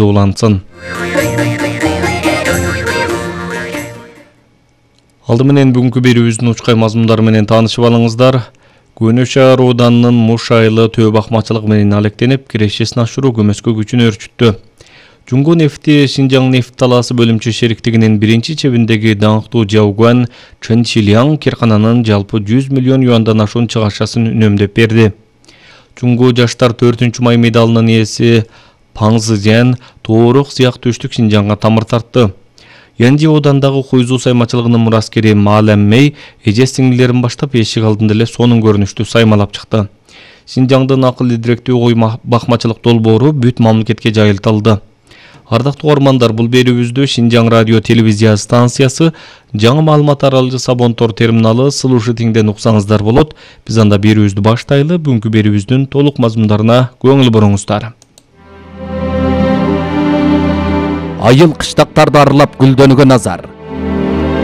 улансын. Алды менен бүгүнкү берүүбүздүн учкай мазмундары менен таанышып алыңыздар. Көне шаар ооданынын Муш айылы төө бакмачылык менен алектенип, кирешесин ашыруу көмөскө күчүн өрчүттү. Жуңго нефти Шинжаң нефт талаасы бөлүмчө шериктигинин биринчи чебиндеги даңктуу Жаугуан Чен Шилиang киркананын жалпы 100 миллион юандан ашуун чыгашасын үнөмдөп берди. Жуңго жаштар 4-май медалынын ээси Паң Зыжан тоорук сыяк түштүк Шинжаңга тамыр тартты. Янжи оодандагы Хуйзу саймачылыгынын мураскери Маалам Мэй эже сиңдилерин баштап эшик алдында эле сонун көрүнүштүү саймалап чыкты. Шинжаңдын акыл идиректүү кой бакмачылык долбоору бүт мамлекетке жайылтылды. Ардактуу угармандар, бул берүүбүздү Шинжаң радио телевизия станциясы жаңы маалымат таралгычы Сабонтор терминалы Слушатиңден уксаңыздар болот. Биз анда берүүбүздү баштайлы. Бүгүнкү берүүбүздүн толук мазмундарына көңүл буруңуздар. Айыл кыштактарды аралап гүлдөнүүгө назар.